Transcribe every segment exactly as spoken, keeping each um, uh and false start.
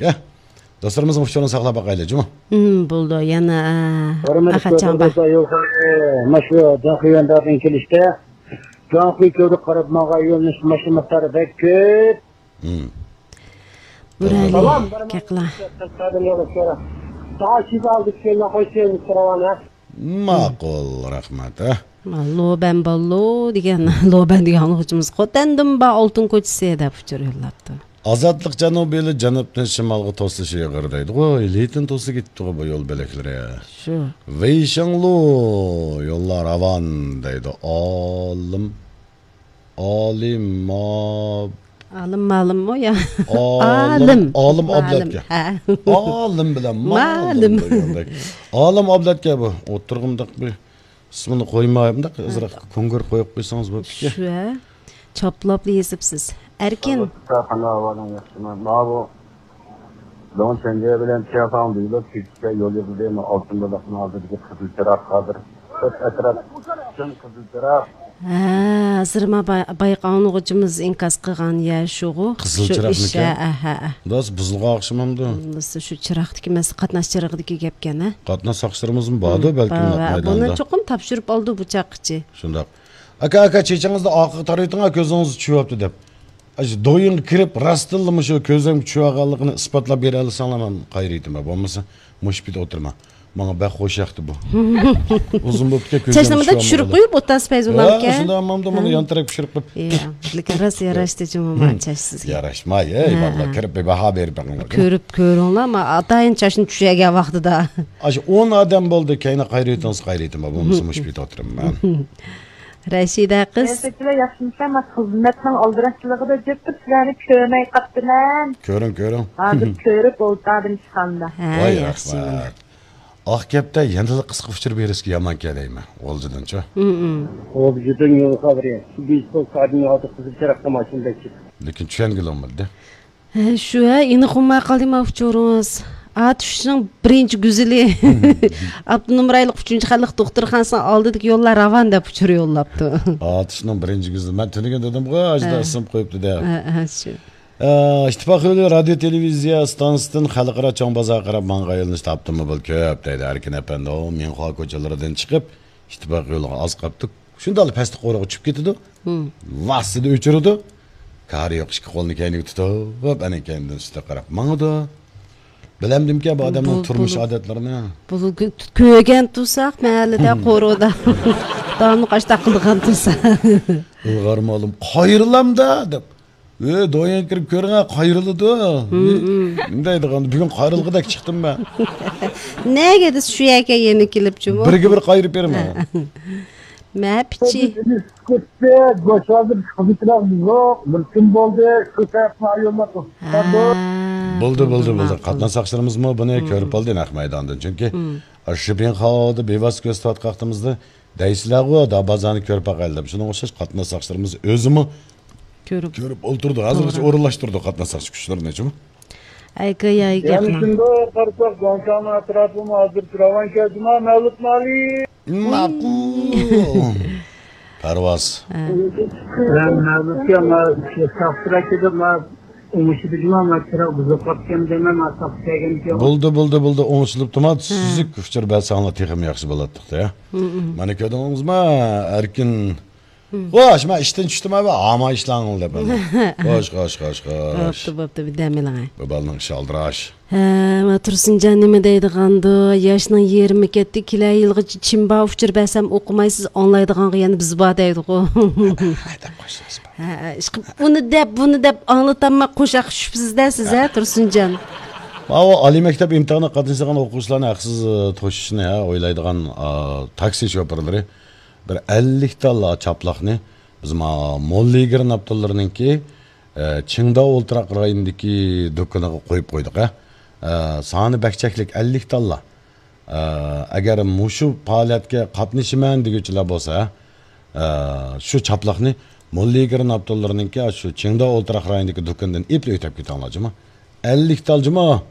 يا، دوستلىرىمىزنىڭ ئۇچۇرىنى ساقلاپ باقايلى، جۇمۇ. ھىم، بولدى. يەنە، ئە، ھۆرمەتلىك ئاخا چاڭبا. كۆرۈرمەن، يول، ئە، مانا شۇ جانخۇي ۋەندادىن كېلىشتە، جانخۇي كۆۋرۈك قاراپ ماڭغان يۆنىلىش ماشىنا مىقدارى بەك كۆپ. ھىم. بۇرالى، سالام. كەقلا. ساڭا شىزا ئالدى كېلىڭ، خوش كەلدىڭىز، راۋانە. ماقۇل، رەھمەت، ھە. لوبەن باللو دېگەن، لوبەن دېگەن ئاڭلىغۇچىمىز خوتەندىن با ئالتۇن كوچىسى دەپ ئۇچۇر يوللاپتۇ. ئازادلىق جەنۇبىيلى جەنۇبتىن شىمالغا توسۇش ئېغىر دەيدىغۇ، لېيتىن توسۇپ كېتىپتىغۇ بۇ يول بۆلەكلىرى. شۇ. ۋېيشىڭلۇ يوللار راۋان دەيدۇ. ئالىم، ئالىم، ما-، ئالىم مالىممۇ يا؟ ئالىم، ئالىم. ئالىم مالىم. ئابلەتكە. ھە. ئالىم بىلەن مالىم مالىم دېگەندەك. ئالىم ئابلەتكە بۇ. ئوتتۇرىغا مۇنداق بىر ئىسمىنى قويماي، مۇنداق ئازراق كونكرېت قويۇپ قويسىڭىز بوپتىكەن. شۇ، ھە. چاپلاپلا يېزىپسىز. ئەركىن. قانداق ئەھۋالىڭ، ياخشىمۇ؟ ماۋۇ دۆڭ چەڭگە بىلەن چيافاڭ دېيىلىپ، كېچىچە يول يېپىلدى. مانا ئالتۇن بۇلاقنىڭ ئالدىدىكى قىزىل چىراغ ھازىر. ئەتراپ پۈتۈن قىزىل چىراغ. ھە، ھازىر ما باي-، بايقا ئاڭلىغۇچىمىز ئىنكاس قىلغان يە شۇغۇ. قىزىل شۇ چىراغمىكەن؟ ئىش، ھە، ھە، ھە. بۇ بۇزۇلغان ئوخشىمامدۇ؟ بولمىسا شۇ چىراغدىكى مەسىلە، قاتناش چىرىغىدىكى گەپكەن، ھە؟ قاتناش ساقچىلىرىمىزمۇ باردۇ، ھىم، بەلكىم، بار، نەق ۋە بۇنى مەيداندا. چوقۇم تاپشۇرۇپ ئالدى بۇ چاققىچە. شۇنداق. ئاكا، ئاكا، چېچىڭىزنى ئارقىغا تارىۋېتىڭ، كۆزىڭىزگە چۈشۈۋاپتۇ دەپ. ئاشۇ دويىنغا كىرىپ، راستتىنلا مۇشۇ كۆزۈمگە چۈشۈۋالغانلىقىنى ئىسپاتلاپ بېرەلىسەڭلار، مەن قايرىۋېتىمەن. بولمىسا مۇشۇ پېتى ئولتۇرىمەن. ماڭا بەك خوش ياقتى بۇ. ئۇزۇن بوپتىكەن، كۆزۈمگە چاچنى مۇنداق چۈشۈرۈپ قويۇپ ئولتۇرسىز پەيزۇللا ئاكا. شۇنداق، مانا، مانا ھە. يان تەرەپكە چۈشۈرۈپ قويۇپ. يا، لېكىن راست ياراشتى جۇمۇ ما چاچ سىزگە. ياراشماي، ئەي، ھە، بالىلار، ھە. كىرىپ بىر باھا بېرىپ بېقىڭلار. كۆرۈپ كۆرۈڭلار، ما ئاتايىن چاچنى چۈشۈرگەن ۋاقتىدا. ئاشۇ ئون ئادەم بولدى، كەينى قايرىۋېتىڭلار، قايرىۋېتىمەن. بولمىسا مۇشۇ پېتى ئولتۇرىمەن. رەشىدە قىز. سىلەر ياخشىمىسىلەر؟ مەن خىزمەتنىڭ ئالدىراشچىلىقىدا جىق تۇرۇپ سىلەرنى كۆرمەي قاپتىمەن. كۆرۈڭ، كۆرۈڭ. ھازىر كۆرۈپ ئولتۇردۇم ئىشخانىدا. ھە، ۋاي، ياخشى. رەھمەت. ئاق كەپتە يەنىلا قىسقا ئۇچۇر بېرىشكە يامان كەلەيمەن، غۇلجىدىنچۇ؟ ھىم، ھىم. غۇلجىدىن يول خەۋىرى. بىز بولسا ھازىر قىزىل چىراغدا ماشىنا بەكچىدۇق. لېكىن چۈشەنگىلى بولمىدى. ھە، شۇ، ھە، ئېنىق بولماي قالدى ما ئۇچۇرىڭىز. ئاتۇشنىڭ بىرىنچى گۈزىلى. ئاپتونوم رايونلۇق ئۈچىنچى خەلق دوختۇرخانىسىنىڭ ئالدىدىكى يوللار راۋان دەپ ئۇچۇر يوللاپتۇ. ئاتۇشنىڭ بىرىنچى گۈزىلى. مەن تۈنۈگۈن دېدىمغۇ، ئاشۇنداق ھە. ئىسىم قويۇپتۇ دەپ. ھە، ھە، شۇ. ئە، ئىتتىپاق يولى رادىيو تېلېۋىزىيە ئىستانسىسىدىن خەلقئارا چوڭ بازارغا قاراپ ماڭغان يۆنىلىشتە ئاپتوموبىل كۆپ دەيدۇ ئەركىن ئەپەندى. مىڭخۇا كوچىلىرىدىن چىقىپ، ئىتتىپاق يولىغا ئاز قاپتۇق. شۇنداقلا پەستە قورۇغا چۈشۈپ كېتىدۇ. ھىم. ۋاسسىدە ئۆچۈرىدۇ. كارى يوق ئىككى قولىنى كەينىگە تۇتۇپ، ئەنە كەينىدىن ئۈستىگە قاراپ ماڭىدۇ. بىلەمدىمكەن بۇ ئادەمنىڭ بۇ، تۇرمۇش بۇ، ئادەتلىرىنى؟ بۇ، كۆ-، كۆرگەن تۇرساق، مەھەللىدە، قورۇدا. داۋاملىق ئاشتاق قىلىدىغان تۇرسا. ئىلغار مالىم، قايرىلامدا دەپ. ئۆي، دويان كىرىپ كۆرۈڭە، قايرىلىدۇ. ھىم، ھىم. نېمە دەيدىغان، بۈگۈن قايرىلغۇدەك چىقتىم مەن. نەگە دېسە شۇ يەرگە يەنە كېلىپ جۇمۇ. بىرگە بىر قايرىپ بېرىمەن. مە پىچى. كەتتى، گۆش ھازىر خىزمىتىمىز يوق، بىر كۈن بولدى، شۇ سەۋەبتىن ئايرىلماق ھە. بولدى، بولدى، بولدى. ماقۇل. قاتناش ساقچىلىرىمىزمۇ بۇنى ھىم. كۆرۈپ ئالدى نەق مەيداندىن. چۈنكى ھىم. شۇ بىڭخاۋدا بىۋاسىتە كۆرسىتىۋاتقان ۋاقتىمىزدا دەيسىلەرغۇ، دا بازارنى كۆرۈپ باقايلى دەپ. شۇنىڭغا ئوخشاش قاتناش ساقچىلىرىمىز ئۆزىمۇ كۆرۈپ. كۆرۈپ ئولتۇرىدۇ. ھازىرغىچە توغرا. ئورۇنلاشتۇرىدۇ قاتناش ساقچى كۈچلىرىنى، جۇمۇ. ئەگە يايگە يەنە ياقما. شۇنداق قارىساق، گۇاڭشاڭنىڭ ئەتراپىمۇ ھازىر پىراۋان كەلدىما، مەۋلۇت مالى. ماقۇل. پەرۋاز. ھە. مەن مەۋلۇتكە، ما، شاخسىراكىدا، ما، ئوڭشىدىجۇما، ما، چىراغ بۇزۇلۇپ قاپتىكەن دەيمەن، ما، ساقچى كەلگەنكەن. بولدى، بولدى، بولدى، ئوڭشىلىپتىما، ھە. سۈزۈك ئۇچۇر بەرسەڭلار تېخىمۇ ياخشى بولاتتۇق-دە. ھىم، ھىم. مانا كۆردىڭىزما، ئەركىن. ھىم. خوش، مەن ئىشتىن چۈشتۈم ئەۋە، ئاما ئىشلەڭ دەپ. خوش، خوش، خوش، خوش. بوپتۇ، بوپتۇ، بىر دەم ئېلىڭ. بۇ بالىنىڭ ئىشى ئالدىراش. ھە، ما تۇرسۇنجان نېمە دەيدىغاندۇ؟ ياشنىڭ يېرىمى كەتتى، كېلەر يىلغىچە چىمبا ئۇچۇر بەرسەم ئوقۇمايسىز، ئاڭلايدىغانغا يەنە بىز بار دەيدىغۇ. ھە، دەپ قويسىڭىز. ھە، ئىشقىلىپ ئۇنى دەپ، بۇنى دەپ ئاڭلىتالماي قوشاق چۈشۈپسىز-دە سىز، ھە، تۇرسۇنجان؟ ماۋۇ ئالىي مەكتەپ ئىمتىھانىغا قاتنىشىدىغان ئوقۇغۇچىلارنى ھەقسىز، ئە، توشۇشنى، ھە، ئويلايدىغان، ئا، تاكسى شوپۇرلىرى بىر ئەللىك تاللا چاپلاقنى بىز ما موللا يىگىرىن ئاپتوللىرىنىڭكى، ئە، چىڭداۋ ئولتۇراق رايونىدىكى دۇكىنىغا قويۇپ قويدۇق، ھە. ئە، سانى بەك چەكلىك، ئەللىك تاللا. ئە، ئەگەر مۇشۇ پائالىيەتكە قاتنىشىمەن دېگۈچىلەر بولسا، ئە، شۇ چاپلاقنى موللا يىگىرىن ئاپتوللىرىنىڭكى شۇ چىڭداۋ ئولتۇراق رايونىدىكى دۇكىنىدىن ئېلىپ ئۆتۈپ كېتىڭلار، جۇمۇ. ئەللىك تال، جۇمۇ.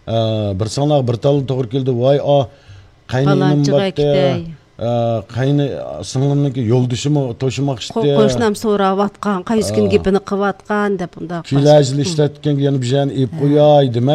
ئە، بىر ساڭلارغا بىر تال توغرا كېلىدۇ. ۋاي، ئا، قەينىنىم پالانچىغا باتتى. كېتەي. ئە، قەينى سىڭلىمنىڭكى يولدىشىمۇ توشۇماق ئىشتى. قوشنام سوراۋاتقان، قايسى كۈنى گېپىنى قىلىۋاتقان دەپ، ئۇنداق. كېلەر يىل ئىشلەتكەنگە يەنە بىر يەرنى ئېلىپ قوياي دېمەي،